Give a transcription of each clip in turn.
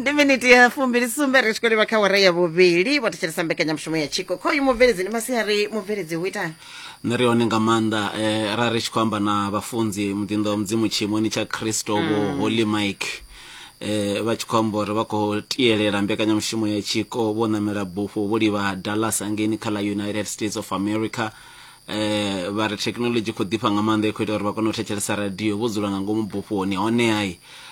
Ndi miniti ya 27 ri tshi khou livha kha wara ya vhuvhili. Vho thetshelesa mbekanyamushumo ya Tshiko. Khoyu mubveledzi ndi masiari, mubveledzi hu itani? Nṋe ri hone nga maanḓa. Ra ri tshi khou amba na vhafunzi muḓinḓa wa Mudzimu tshiimoni tsha Kristo Vho Holy Mike, vha tshi khou amba uri vha khou tielela mbekanyamushumo ya Tshiko vho ṋamela bufho vho livha Dallas hangeini kha ḽa United States of America. Vha ri thekinoḽodzhi khou ḓifha nga maanḓa, i khou ita uri vha kone u thetshelesa radio vho dzula nga ngomu bufhoni. Honeha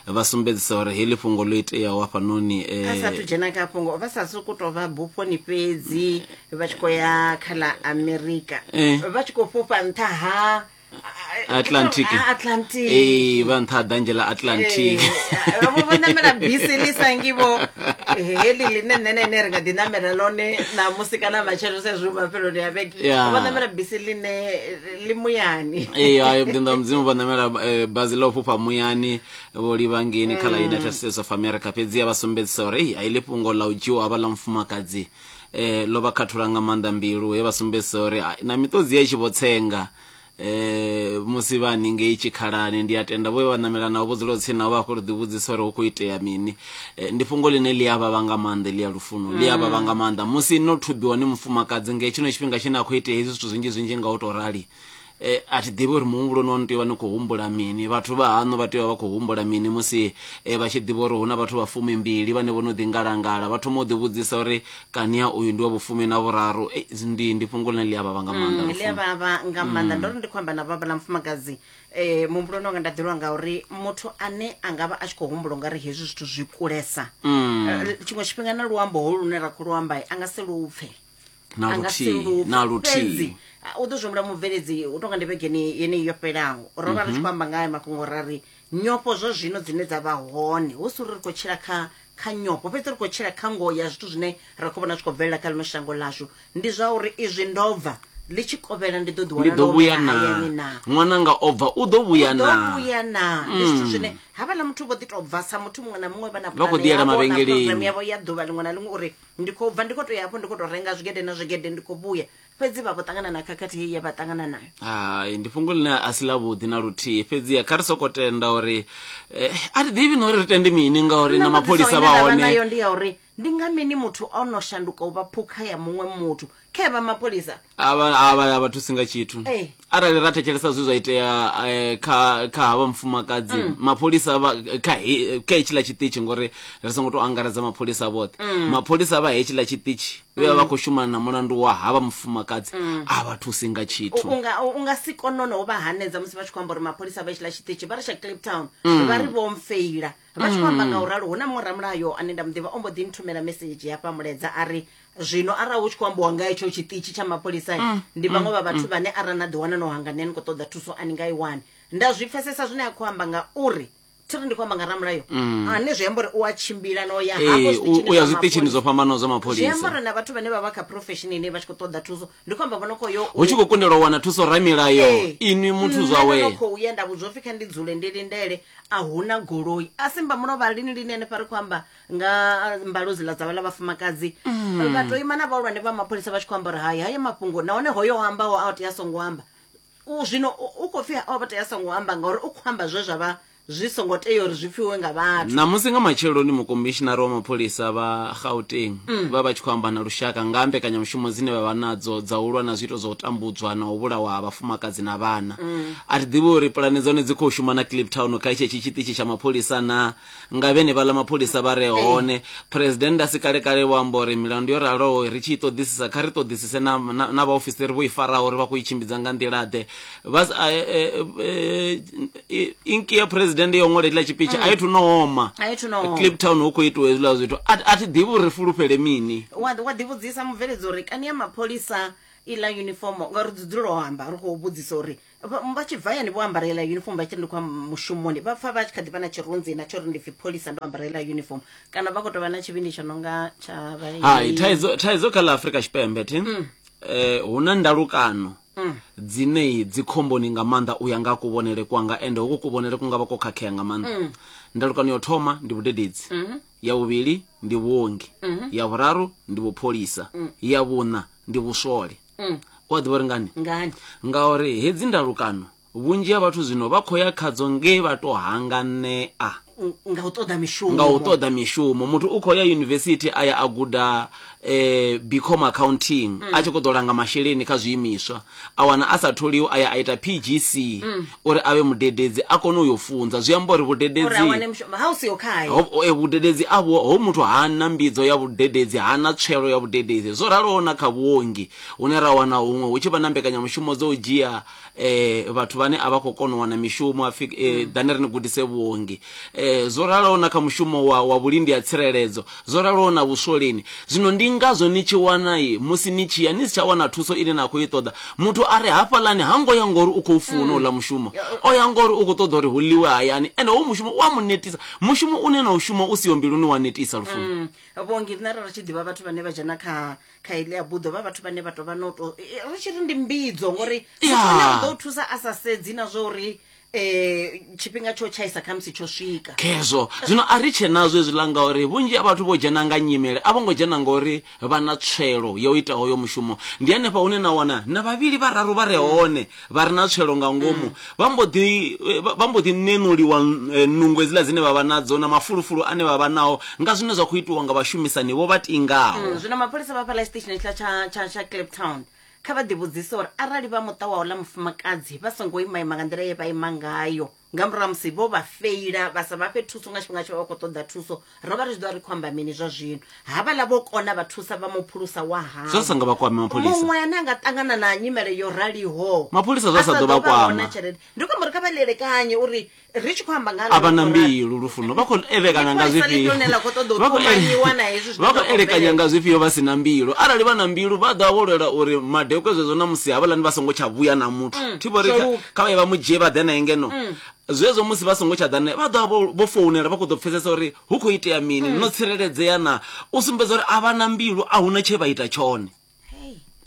vha sumbedzisa uri heḽi fhungo ḽo iteaho hafhanoni A sathu dzhena kha fhungo, vha sa sokou tou vha bufhoni fhedzi vha tshi khou ya kha ḽa Amerika, vha tshi khou fhufha nṱha ha Atlantic. Ha Atlantic. Ee, vha nṱha ha ḓanzhe ḽa Atlantic. Vho vho ṋamela bisi ḽi sa ngi vho heḽi ḽine nṋe na ine ri nga ḓi ṋamela ḽone ṋamusi kana matshelo sa izwi hu mafheloni a vhege. Vho ṋamela bisi ḽine ḽi muyani. Ee, hai, muḓinḓa wa Mudzimu vho ṋamela bazi ḽa u fhufha muyani vho livha ngeini kha ḽa United States of America. Fhedzi vha sumbedzisa uri ei, heḽi fhungo ḽa u dzhiwa ha vhaḽa mufumakadzi ḽo vha khathula nga maanḓa mbilu, he vha sumbedzisa uri hai, na miṱodzi ya i tshi vho tsenga musi vha haningei tshikhalani. Ndi a tenda vho vha ṋamela navho vho dzula tsini navho vha khou ḓi vhudzisa uri hu khou itea mini. Ndi fhungo ḽine ḽi a vhavha nga maanḓa, ḽi a lufuno ḽi a vhavha nga maanḓa musi no thubiwa ni mufumakadzi nga tshino tshifhinga tshine a khou itea hezwi zwithu zwinzhi zwinzhi nga u tou rali. A thi ḓivhi uri muhumbuloni waṋu tea u vha ni khou humbula mini, vhathu vha haṋu vha tea u vha vha khou humbula mini musi vha tshi ḓivha uri hu na vhathu vha 20 vhane vho no ḓi ngalangala, vha thoma u ḓivhudzisa uri kani ya uyu ndi wa vhufumi na vhuraru. Ndi ndi fhungo ḽine ḽi a vhavha nga maanḓa Ḽi a vhavha nga maanḓa. Ndo ri ndi khou amba na vhavha ḽa mufumakadzi, muhumbuloni wanga nda ḓelwa nga uri muthu ane a nga vha a tshi khou humbula ungari hezwi zwithu zwi kulesa, tshiṅwe tshifhinga na luambo holu lune ra khou lu amba a nga si lu pfe. Na A nga si luthihi, lu pfe. na luthihi. Fhedzi u ḓo zwi humbula mubveledzi, u tonga ndi vhegeni yeneyi yo fhelaho ro vha ri tshi khou amba nga haya mafhungo, ra ri nyofho zwa zwino dzine dza vha hone, hu si uri ri khou tshila kha kha nyofho, fhedzi ri khou tshila kha ngoho ya zwithu zwine ra khou vhona zwi khou bvelela kha ḽino shango ḽashu, ndi zwa uri izwi ndo bva ḽi tshi kovhela ndi ḓo ḓi Ndi wana ḓo ndo vhuya humela na hayani na. Ṅwananga o bva u ḓo vhuya U ḓo na. vhuya na. Ndi zwithu zwine havhaḽa muthu vho ḓi tou bva sa muthu muṅwe na muṅwe vha na Vha khou pulane ḓi yela yavho na mavhengeleni. program yavho ya ḓuvha ḽiṅwe na ḽiṅwe uri ndi khou bva ndi khou tou ya hafho ndi khou tou renga zwigede na zwigede ndi khou vhuya, fhedzi vha vho ṱangana na khakhathi heyi ye vha ṱangana nayo. Hai, ndi fhungo ḽine a si ḽavhuḓi na luthihi, fhedziha kha ri soko tenda uri a thi ḓivhi na uri ri tende mini ngauri Nṋe na mbudziso mapholisa ine vha nda vha hone. nayo ndi ya uri ndi nga mini muthu o no shanduka u vha phukha ya muṅwe muthu khe vha mapholisa? A vha a vha a vha thusi nga tshithu. Ee. Arali ra thetshelesa zwe zwa itea kha kha havha mufumakadzi, mapholisa vha kha he, kha hetshiḽa tshiṱitshi, ngori ri songo tou angaredza mapholisa vhoṱhe, mapholisa vha hetshiḽa tshiṱitshi vhe vha vha khou shumana na mulandu wa havha mufumakadzi a vha thusi nga tshithu. U nga si kone no vha hanedza musi vha tshi khou amba uri mapholisa vha hetshiḽa tshiṱitshi vha ri tsha Kliptown vha ri vho mfeila. Vha tshi khou amba nga u ralo, hu na muṅwe ramulayo ane nda mu ḓivha o mbo ḓi nthumela mesedzhi hafha mulaedza a ri, Zwino arali hu tshi khou ambiwa nga hetsho tshiṱitshi tsha mapholisa, ndi vhaṅwe vha vhathu vhane arali na ḓiwana no hanganea ni khou ṱoḓa thuso a ni nga i wani. Nda zwi pfesesa zwine a khou amba ngauri thi ri ndi khou amba nga ramulayo ane zwi amba uri u a tshimbila no ya hafho Ee, zwiṱitshini u ya zwa zwiṱitshini zwo mapholisa. fhambanaho zwa Zwi mapholisa. amba uri na vhathu vhane vha vha kha profession ine vha tshi khou ṱoḓa thuso, ndi khou amba vho no khou yo Hu tshi khou kundelwa u wana thuso ramilayo, Ee, inwi muthu nṋe zwawe. ndo no khou ya nda vhudzwa upfi kha ndi dzule ndi lindele, a hu na goloi. A si mba mulovha lini lini hanefha ri khou amba nga mbalo dziḽa dza vhaḽa vhafumakadzi. Vha tou ima na vhahulwane vha mapholisa vha tshi khou amba uri hai haya mafhungo, nahone hoyo o ambaho a tea a songo amba. U zwino u khou pfi o tea a songo amba ngauri u khou amba zwe zwa vha zwi songo tea uri zwi pfiwe nga vhathu. Ṋamusi nga matsheloni mukomishinara wa mapholisa vha Gauteng vha vha tshi khou amba na lushaka nga ha mbekanyamushumo dzine vha vha nadzo dza u lwa na zwiito zwa u tambudzwa na u vhulawa ha vhafumakadzi na vhana. A thi ḓivhi uri pulane dzone dzi khou shuma na Kliptown kha tshetshi tshiṱitshi tsha mapholisa na nga vhenevhaḽa mapholisa vha re hone. Phresidennde a si kale-kale vho amba uri milandu yo raloho ri tshi i ṱoḓisisa kha ri ṱoḓisise na, na, na vhaofisiri vho i faraho uri vha khou i tshimbidza nga nḓila-ḓe. Vha s- a- e- e- e- inki ya phresidennde yo ṅwala hetshiḽa tshipitshi a i thu no oma. A i thu no oma. Kliptown hu khou itiwa hezwiḽa zwithu. A, a thi ḓivhi uri ri fulufhele mini. Wa wa ḓivhudzisa mubveledzi uri kani ya mapholisa iḽa uniform ngauri dzi dzulela u amba ri khou vhudzisa uri Vha vha tshi bva hayani vho ambara heiḽa uniform vha tshi ri ndi khou ya mushumoni vha pfa vha tshi kha ḓi vha na tshirunzi na tsho uri ndi pfi pholisa ndo ambara heiḽa uniform kana vha khou tou vha na tshivhindi tsho no nga tsha vha Hai, thaidzo thaidzo kha ḽa Afrika Tshipembe thi hu na ndalukano dzine dzi khomboni nga maanḓa u ya nga kuvhonele kwanga, ende hoko kuvhonele ku nga vha ko khakhea nga maanḓa. Ndalukano ya u thoma ndi vhudededzi, ya vhuvhili ndi vhuongi, ya vhuraru ndi vhupholisa, ya vhuṋa ndi vhuswole. U a ḓivha uri ngani? Ngani? Ngauri hedzi ndalukano vhunzhi ha vhathu zwino vha khou ya khadzo nge vha to hanganea. Nga u ṱoḓa mishumo. Nga u ṱoḓa mishumo. Muthu u khou ya yunivesithi a ya a guda BCom accounting a tshi khou ḓo langa masheleni kha zwiimiswa, a wana a sa tholiwi a ya a ita PGC uri a vhe mudededzi a kone u yo funza. Zwi amba uri Uri a vhudededzi wane mushumo ha u siho khae. Ho, vhudededzi a vhu, ho muthu hana mbidzo ya vhudededzi, hana tswelo ya vhudededzi. Zwo raloho na kha vhuongi hune ra wana huṅwe hu tshi vha na mbekanyamushumo dzo u dzhia vhathu vhane a vha khou kona u wana mishumo hapfi ḓani ri ni gudise vhuongi. Zwo raloho na kha mushumo wa vhulindi ha tsireledzo, zwo raloho na vhuswoleni. Zwino ndi ngazwo ni tshi wana musi ni tshi ya ni si tsha wana thuso ine na khou i ṱoḓa. Muthu a re hafhaḽani ha ngo ya ngori u khou funa uḽa mushumo, o ya ngori u khou ṱoḓa uri hu ḽiwe hayani. Ende hoyu mushumo u a mu netisa, mushumo une na u shuma u siho mbiluni wa netisa lufuni. Vhuongi riṋe ra ri tshi ḓivha vhathu vhane vha dzhena kha kha iḽi buḓo vha vhathu vhane vha tou vha no to ri tshi ri ndi mbidzo ngori muthu ane u ḓo thusa a sa sedzi na zwa uri tshifhinga tsho tshaisa khamusi tsho swika. Khezwo zwino a ri tshe nazwo hezwiḽa ngauri vhunzhi ha vhathu vho dzhena nga nyimele, a vho ngo dzhena ngori vha na tswelo ya u ita hoyo mushumo. Ndi hanefha hune na wana na vhavhili vhararu vha re hone vha re na tswelo nga ngomu vha mbo ḓi vha mbo ḓi ṋeṋuliwa nungo hedziḽa dzine vha vha nadzo na mafulufulu ane vha vha nao nga zwine zwa khou itiwa nga vhashumisani vho vha tingaho. Zwino mapholisa vha fhaḽa tshiṱitshini hetshiḽa tsha tsha tsha Kliptown kha vha ḓivhudzise uri arali vha muṱa wa uḽa mufumakadzi vha songo ima ima nga nḓila ye vha ima ngayo nga murahu ha musi vho vha feila vha sa vha fhe thuso nga tshifhinga tshe vha vha khou ṱoḓa thuso, ro vha ri tshi ḓo vha ri khou amba mini zwa zwino? Havhaḽa vho kona vha thusa vha mu phulusa wa Zwa sa havho. nga vha kwame mapholisa. Muṅwe ane a nga ṱangana na nyimele yo raliho Mapholisa zwa a sa sa ḓo vha ḓo vha hone kwama. tshelede. Ndi khou amba uri kha vha ḽielekanye uri ri tshi khou amba nga A vha na mbilu lufuno vha khou elekanya nga zwifhio vha khou vha khou elekanya nga zwifhio vha si na mbilu arali vha na mbilu vha ḓo vho lwela uri madekwe zwezwo na musi havhaḽani vha songo tsha vhuya na muthu mm, thi vhori kha vha ye vha mu dzhie vha ḓe naye ngeno mm. Zwezwo musi vha songo tsha ḓa naye vha ḓo vha vho founela vha khou ḓo pfesesa uri hu khou itea mini mm. No tsireledzea na u sumbedza uri a vha na mbilu a huna tshe vha ita tshone.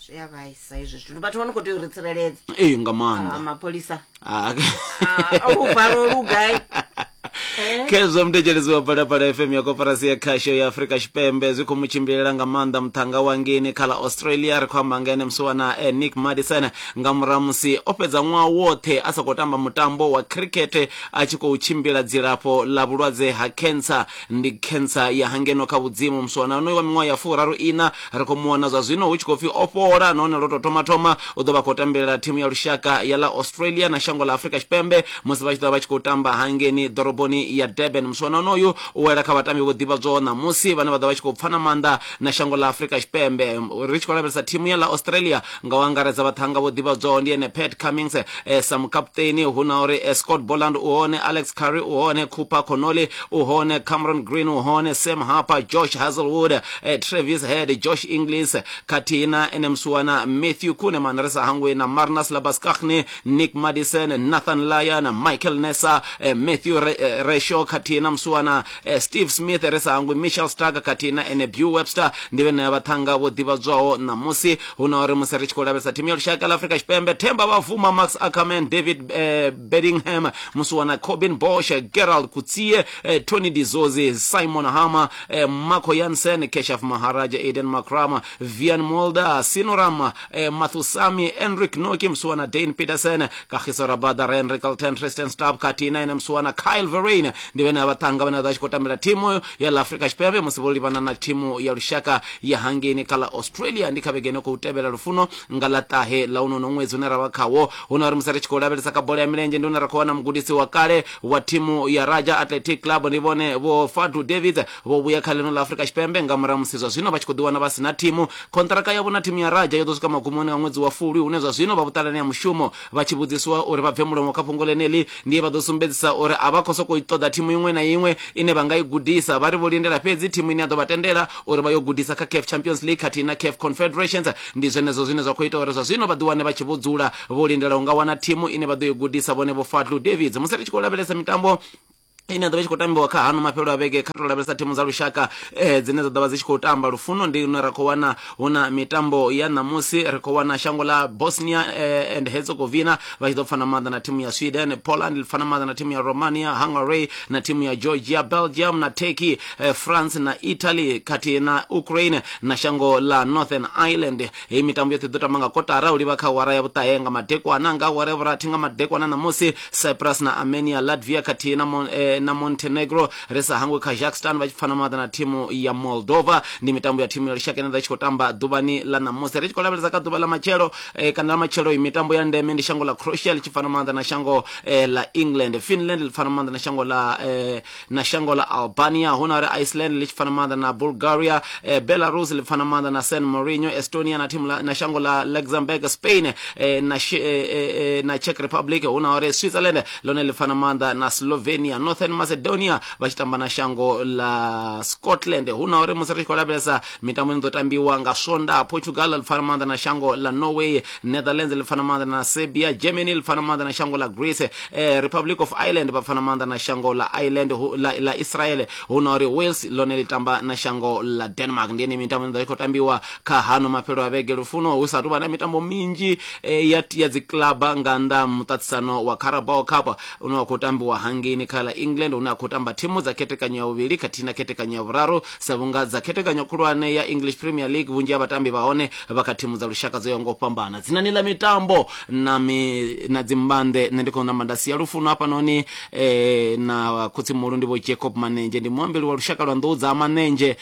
Zwi a vhaisa hezwi zwithu, vhathu vha no khou tea u ri tsireledza. Ee, nga maanḓa. Ah, mapholisa. Ah, luvalo lu gai? Eh? Khezwo muthetshelesi wa Phalaphala FM ya koporasi ya khasho ya Afrika Tshipembe zwi khou mu tshimbilela nga maanḓa muṱhanga wa ngeni kha ḽa Australia. Ri khou amba nga ene musiwana Nick Madison nga murahu musi o fhedza ṅwaha woṱhe a sa khou tamba mutambo wa cricket a tshi khou tshimbila dzilafho ḽa vhulwadze ha cancer. Ndi cancer ya hangeno kha vhudzimu. Musiwana onoyu wa miṅwaha ya 34 Ri khou mu wana zwa zwino hu tshi khou pfi o fhola nahone lwo tou thoma thoma u ḓo vha khou tambelela thimu ya lushaka ya ḽa Australia na shango ḽa Afrika Tshipembe musi vha tshi ḓo vha vha tshi khou tamba hangeni ḓoroboni ya Durban. Musiwana onoyu u wela kha vhatambi vho ḓivhadzwaho ṋamusi vhane vha ḓo vha tshi khou pfana maanḓa na shango ḽa Afrika Tshipembe. Ri tshi khou lavhelesa thimu ya ḽa Australia nga u angaredza vhaṱhannga vho ḓivhadzwaho ndi ene Pat Cummins sa mukaputeni, hu na uri Scott Boland u hone, Alex Carey u hone, Cooper Connolly u hone, Cameron Green u hone, Sam Harper, Josh Hazlewood, Travis Head, Josh Inglis khathihi na ene musiwana Matthew Kuhnemann, ri sa hangwi na Marnus Labuschagne, Nick Maddison, Nathan Lyon, Michael Neser, Matthew Reshaw khathihi na musiwana Steve Smith, ri sa hangwi Mitchell Starc khathihi na ene Beau Webster. Ndi vhenea vhaṱhannga vho ḓivhadzwaho ṋamusi. Hu na uri musi ri tshi khou lavhelesa thimu ya lushaka ḽa Afrika Tshipembe, Themba Bavuma, Max Ackermann, David Bedingham, musiwana Corbin Bosch, Gerald Coetzee, Tony de Zorzi, Simon Harmer, Marco Jansen, Keshav Maharaj, Aiden Markram, Wiaan Mulder, Senuran Muthusamy, Anrich Nortje, musiwana Dane Petersen, Kagiso Rabada, Ryan Rickelton, Tristan Stubb khathihi na ene musiwana Kyle Verreynne. Ndi vhene vhaṱhannga vhane vha ḓo vha tshi khou tambela thimu ya ḽa Afrika Tshipembe musi vho livhana na thimu ya lushaka ya hangeini kha ḽa Australia. Ndi kha vhege ino khou tevhela lufuno nga ḽa ṱahe ḽa uno ṅwedzi une ra vha khawo. Hu na uri musi ri tshi khou lavhelesa kha bola ya milenzhe ndi hune ra khou wana mugudisi wa kale wa thimu ya Raja Athletic Club, ndi vhone Vho Fadlu Davids, vho vhuya kha ḽino ḽa Afrika Tshipembe nga murahu musi zwa zwino vha tshi khou ḓiwana vha si na thimu. Khonṱiraka yavho na thimu ya Raja yo ḓo swika magumoni a ṅwedzi wa Fulwi, hune zwa zwino vha vhuṱalani ha mushumo. Vha tshi vhudziswa uri vha bve mulomo kha fhungo ḽeneḽi, ndi he vha ḓo sumbedzisa uri a vha khou sokou ṱoḓa thimu iṅwe na iṅwe ine vha nga i gudisa. Vha ri vho lindela fhedzi thimu ine ya ḓo vha tendela uri vha yo gudisa kha CAF Champions League khathihi na CAF Confederations. Ndi zwenezwo zwine zwa khou ita uri zwa zwino vha ḓiwane vha tshi vho dzula vho lindela u nga wana thimu ine vha ḓo i gudisa vhone Vho Fadlu Davids. Musi ri tshi khou lavhelesa mitambo ine ya ḓo vha i tshi khou tambiwa kha hano mafhelo a vhege, kha tou lavhelesa thimu dza lushaka dzine dza ḓo vha dzi tshi khou tamba lufuno, ndi hune ra khou wana hu na mitambo ya ṋamusi. Ri khou wana shango ḽa Bosnia and Herzegovina vha tshi ḓo pfana maanḓa na thimu ya Sweden, Poland ḽi pfana maanḓa na thimu ya Romania, Hungary na thimu ya Georgia, Belgium na Turkey, France na Italy khathihi na Ukraine na shango ḽa Northern Ireland. Heyi mitambo yoṱhe i ḓo tamba nga kotara u livha kha awara ya vhuṱahe nga madekwana. Nga awara ya vhurathi nga madekwana ṋamusi, Cyprus na Armenia, Latvia khathihi na na Montenegro. Ri sa hangwi Kazakhstan vha tshi pfana maanḓa na thimu ya Moldova. Ndi mitambo ya thimu ya lushaka ine ḓa tshi khou tamba ḓuvhani ḽa ṋamusi. Ri tshi khou lavhelesa kha ḓuvha ḽa matshelo kana ḽa matshelo, mitambo ya ndeme ndi shango ḽa Croatia ḽi tshi pfana maanḓa na shango ḽa England, Finland ḽi pfana maanḓa na shango ḽa na shango ḽa Albania, hu na uri Iceland ḽi tshi pfana maanḓa na Bulgaria, Belarus ḽi pfana maanḓa na San Marino, Estonia na thimu na shango ḽa Luxembourg, Spain na na Czech Republic, hu na uri Switzerland ḽone ḽi pfana maanḓa na Slovenia, Northern Macedonia vha tshi tamba na shango ḽa Scotland. Hu na uri musi ri tshi khou lavhelesa mitambo ine ḓo tambiwa nga Swondaha, Portugal ḽi pfana maanḓa na shango ḽa Norway, Netherlands ḽi pfana maanḓa na Serbia, Germany ḽi pfana maanḓa na shango ḽa Greece, Republic of Ireland vha pfana maanḓa na shango ḽa Ireland ḽa Israel, hu na uri Wales ḽone ḽi tamba na shango ḽa Denmark. Ndi ene mitambo ine ḓo i khou tambiwa kha hano mafhelo a vhege. Lufuno, hu sa tou vha na mitambo minzhi ya ya dzi club nga nnḓa muṱaṱisano wa Carabao Cup une wa khou tambiwa hangeini kha ḽa England, hune ha khou tamba thimu dza khethekanyo ya vhuvhili khathihi na khethekanyo ya vhuraru, sa vhunga dza khethekanyo khulwane ya English Premier League vhunzhi ha vhatambi vha hone vha kha thimu dza lushaka dzo yaho nga u fhambana. Dzinani ḽa mitambo na mi, na dzimbanḓe nṋe ndi khou namba nda sia Lufuno hafhanoni na khotsimuhulu ndi Vho Jacob Manenzhe, ndi muambeli wa lushaka lwa nḓou dza Manenzhe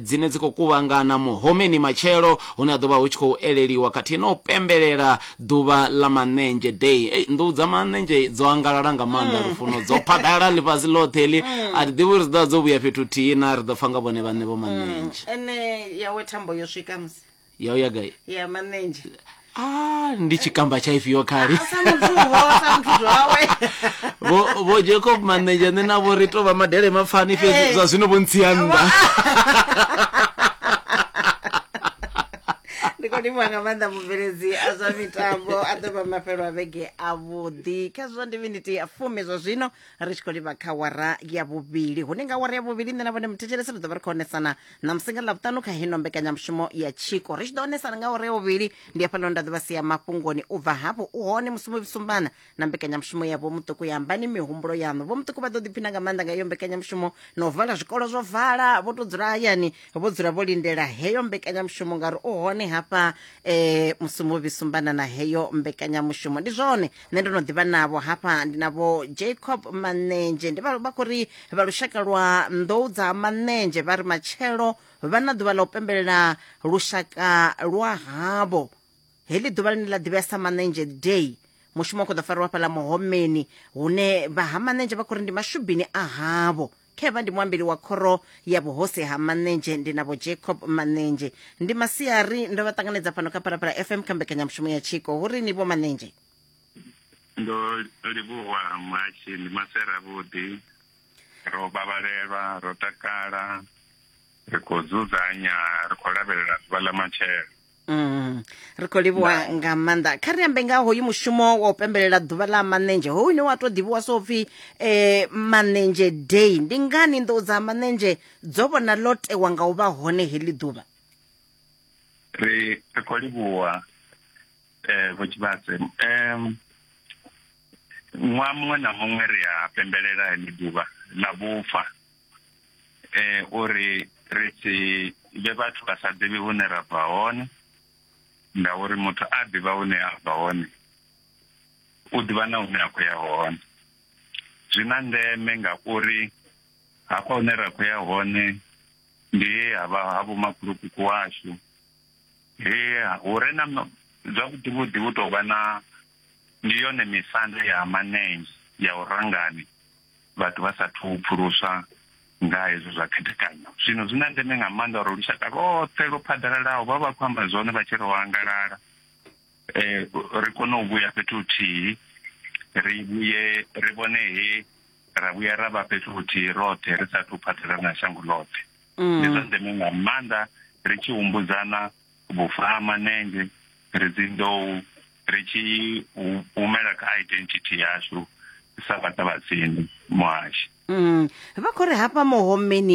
dzine dzi khou kuvhangana Muhomeni matshelo, hune ha ḓo vha hu tshi khou eleliwa khathihi na u pembelela ḓuvha ḽa Manenzhe Day. Ei, nḓou dza Manenzhe dzo angalala nga maanḓa, Lufuno, dzo phaḓalala ḽifhasi ḽoṱhe heḽi. A thi ḓivhi uri dzi ḓo vha dzo vhuya fhethu huthihi na, ri ḓo pfa nga vhone vhaṋe Vho Manenzhe. Ene yawe thambo yo swika musi. Ya u ya gai? Ya Manenzhe. Ah, ndi tshikamba tsha ifhio khali? Sa muthu ho, sa muthu zwawe. Vho Jacob Manenzhe nṋe na vho ri tou vha madele mapfani fhedzi zwa zwino vho ntsia nnḓa. Ndi khou livhuwa nga maanḓa mubveledzi a zwa mitambo, a ḓo vha mafhelo a vhege avhuḓi. Khezwo ndi miniti ya 10 zwa zwino, ri tshi khou livha kha wara ya vhuvhili, hune nga wara ya vhuvhili nṋe na vhone muthetshelesi ri ḓo vha ri khou onesana ṋamusi nga Ḽavhuṱanu kha hino mbekanyamushumo ya Tshiko. Ri tshi ḓo onesana nga wara ya vhuvhili ndi hafhaḽa nda ḓo vha sia mafhungoni. U bva hafho u hone musi sumbana na mbekanyamushumo ya Vho Muṱuku ya Ambani Mihumbulo Yaṋu. Vho Muṱuku vha ḓo ḓiphina nga maanḓa nga iyo mbekanyamushumo, na u vala zwikolo zwo vala, vho tou dzula hayani vho dzula vho lindela heyo mbekanyamushumo, ngauri u hone hafha musi sumbana na heyo mbekanyamushumo. Ndi zwone nṋe ndo no ḓivha navho hafha, ndi navho Jacob Manenzhe, ndi vha khou ri vha lushaka lwa nḓou dza Manenzhe vha ri matshelo vha na ḓuvha ḽa u pembelela lushaka lwa havho. Heḽi ḓuvha ḽine ḽa ḓivhea sa Manenzhe Day, mushumo u khou ḓo fariwa fhaḽa Muhomeni, hune vha ha Manenzhe vha khou ri ndi mashubini a havho. Khevha ndi muambeli wa khoro ya vhuhosi ha Manenzhe, ndi navho Jacob Manenzhe. Ndi masiari, ndo vha ṱanganedza fhano kha Phalaphala FM kha mbekanyamushumo ya Tshiko. Hu ri ni Vho Manenzhe? Ndo livhuwa muhashi, ndi masiari avhuḓi, ro vhavhalelwa, ro takala, ri khou dzudzanya, ri khou lavhelela ḓuvha ḽa matshelo. Ri khou livhuwa nga maanḓa. Kha ri ambe nga hoyu mushumo wa u pembelela ḓuvha ḽa Manenzhe, hoyu une wa tou ḓivhiwa so pfhi Manenzhe Day. Ndi ngani nḓou dza Manenzhe dzo vhona ḽo tewa nga u vha hone heḽi ḓuvha? Ri khou livhuwa Vho Tshivhase. Ṅwaha muṅwe na muṅwe ri a pembelela heḽi ḓuvha ḽa vhufa, uri ri si vhe vhathu vha sa ḓivhi hune ra bva hone, ngauri muthu a ḓivha hune a bva hone u ḓivha na hune a khou ya hone. Zwi na ndeme ngauri hafha hune ra khou ya hone ndi he ha vha ha vhomakhulukuku washu, he hu re na zwavhuḓi vhuḓi hu tou vha na ndi yone misanda ya Manenzhe ya u rangani vhathu vha sa thu pfuluswa nga hezwo zwa khethekanyo. Zwino zwi na ndeme nga maanḓa uri lushaka lwoṱhe lwo phaḓalalaho vha vha khou amba zwone vha tshi ro angalala, ri kone u vhuya fhethu huthihi, ri vhuye ri vhone he ra vhuya ra vha fhethu huthihi roṱhe ri sa thu phaḓalala na shango ḽoṱhe. Ndi zwa ndeme nga maanḓa ri tshi humbudzana vhufa ha Manenzhe, ri dzi nḓou, ri tshi humela kha identity yashu sa vhaṱavhatsindi muhashi. Vha khou ri hafha Muhomeni.